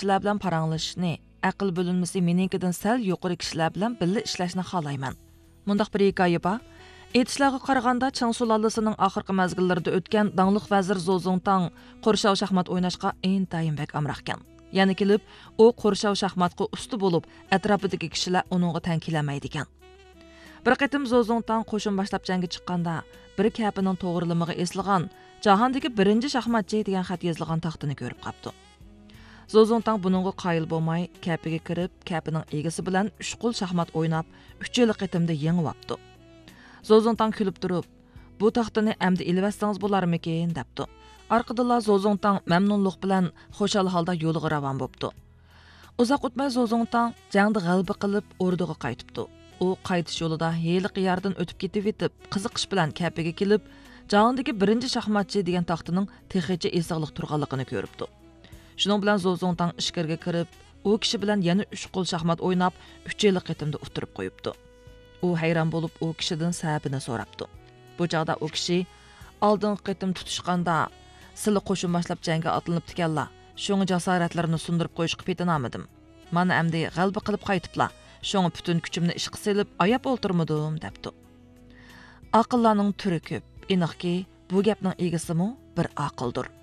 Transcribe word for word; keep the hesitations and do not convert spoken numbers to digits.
كىشىلەر بىلەن پاراڭلىشىشنى، ئەقىل بۆلۈنمىسى مېنىڭكىدىن سەل يۇقىرى كىشىلەر بىلەن بىللە ئىشلەشنى خالايمەن. مۇنداق بىر ھېكايە بار. ئېيتىشلارغا قارىغاندا، چىڭ سۇلالىسىنىڭ ئاخىرقى مەزگىللىرىدە ئۆتكەن داڭلىق ۋەزىر زو زۇڭتاڭ قورشاۋ شاھمات ئويناشقا ئىنتايىن بەك ئامراقكەن. يەنە كېلىپ، ئۇ قورشاۋ شاھماتقا ئۇستا بولۇپ، ئەتراپىدىكى كىشىلەر ئۇنىڭغا تەڭ كېلەلمەيدىكەن. بىر قېتىم زو زۇڭتاڭ قوشۇن باشلاپ جەڭگە چىققاندا، بىر كەپىنىڭ توغرىلىمىغا ئېسىلغان «جاھاندىكى بىرىنچى شاھماتچى» دېگەن خەت يېزىلغان تاختىنى كۆرۈپ قاپتۇ. زو زۇڭتاڭ بۇنىڭغا قايىل بولماي، كەپىگە كىرىپ، كەپىنىڭ ئىگىسى بىلەن ئۈچ قول شاھمات ئويناپ، ئۈچ يىللىق قېتىمدا يېڭىۋاپتۇ. زو زۇڭتاڭ كۈلۈپ تۇرۇپ، «بۇ تاختىنى ئەمدى ئېلىۋەتسىڭىز بولارمىكىن؟» دەپتۇ. ئارقىدىنلا زو زۇڭتاڭ مەمنۇنلۇق بىلەن خۇشال ھالدا يولىغا راۋان بوپتۇ. ئۇزاق ئۆتمەي زو زۇڭتاڭ جەڭدە غەلىبە قىلىپ، ئوردىغا قايتىپتۇ. ئۇ قايتىش يولىدا ھېلىقى يەردىن ئۆتۈپ كېتىۋېتىپ، قىزىقىش بىلەن كەپىگە كېلىپ، «جاھاندىكى بىرىنچى شاھماتچى» دېگەن تاختىنىڭ تېخىچە ئېسىقلىق تۇرغانلىقىنى كۆرۈپتۇ. شۇنىڭ بىلەن زو زۇڭتاڭ ئىچكىرىگە كىرىپ، ئۇ كىشى بىلەن يەنە ئۈچ قول شاھمات ئويناپ، ئۈچ يىللىق قېتىمدا ئۇتتۇرۇپ قويۇپتۇ. ئۇ ھەيران بولۇپ، ئۇ كىشىدىن سەۋەبىنى سوراپتۇ. بۇ چاغدا ئۇ كىشى، «ئالدىنقى قېتىم تۇتۇشقاندا، سىلى قوشۇن باشلاپ جەڭگە ئاتلىنىپتىكەنلا، شۇڭا جاسارەتلىرىنى سۇندۇرۇپ قويۇشقا پېتىنالمىدىم. مانا ئەمدى غەلىبە قىلىپ قايتىپلا، شۇڭا پۈتۈن كۈچۈمنى ئىشقا سېلىپ، ئاياپ ئولتۇرمىدىم» دەپتۇ. ئاقىللارنىڭ تۈرى كۆپ. ئېنىقكى، بۇ گەپنىڭ ئىگىسىمۇ بىر ئاقىلدۇر.